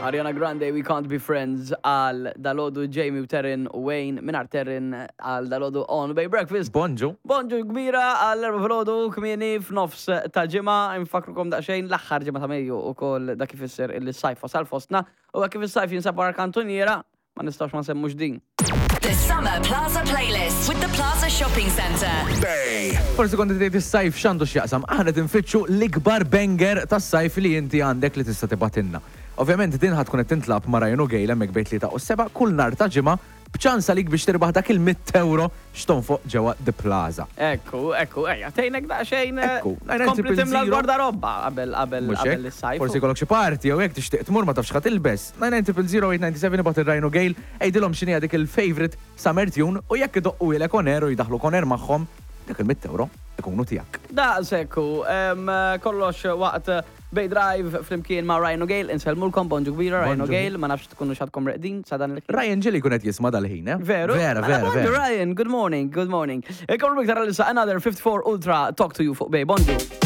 Ariana Grande, We Can't Be Friends għal dalodu Jamie u Terrin u Wayne mingħajr Terrin għal dalodu on Bay Breakfast. Bonġu. Bonġu kbira għal erba filgħodu kmieni f'nofs ta' ġimgħa infakrukom daqsxejn l-aħħar ġimgħa ta' Mejju ukoll dak ifisser illi s-sajf wasal fostna u hekk kif is-sajf jinsab wara kantuniera ma nistgħux ma nsemmux din. The Summer Plaza Playlist with the Plaza Shopping Centre. Bay. Forsi kont tgħid is-sajf x'għandu x'jaqsam. Aħna qed infittxu l-ikbar banger tas-sajf li inti għandek li tista' tibgħatilna. Ovvjament din ħa tkun qed tintlagħab ma' Ryan u Gail hemmhekk bejn tlieta u s-sebgħa kull nhar ta' Ġimgħa b'ċans għalik biex tirbaħ dak il-mitt ewro x'tonfoq ġewwa The Plaza. Ekku, ekku, ejja, tgħinek daqsxejn eh, Ekku, tkompli timla 99 l-gwardarobba qabel qabel Mhux qabel hekk? is-sajf. Forsi jkollok xi party jew hekk tixtieq tmur ma tafx x'ħa tilbes. 99 ibgħat lil Ryan u Gail, għidilhom x'inhi dik il-favourite summer tune u jekk idoqquhielek on air u jdaħħluk on air magħhom, dak il-mitt ewro ikunu tiegħek. Daqshekk hu, em, kollox waqt Bay Drive flimkien ma' Ryan u Gail, insellmulkom bonġu kbira Ryan u Bonġu. Gail, ma nafx tkunu x'għadkom reqdin sa dan il-ħin. Ryan ġieli jkun qed jisma' dal-ħin, eh? Veru? Vera, Mela, vera, bonġu vera. Ryan, good morning, good morning. Ikomplu iktar għalissa another 54 Ultra Talk to you fuq Bay, bonġu.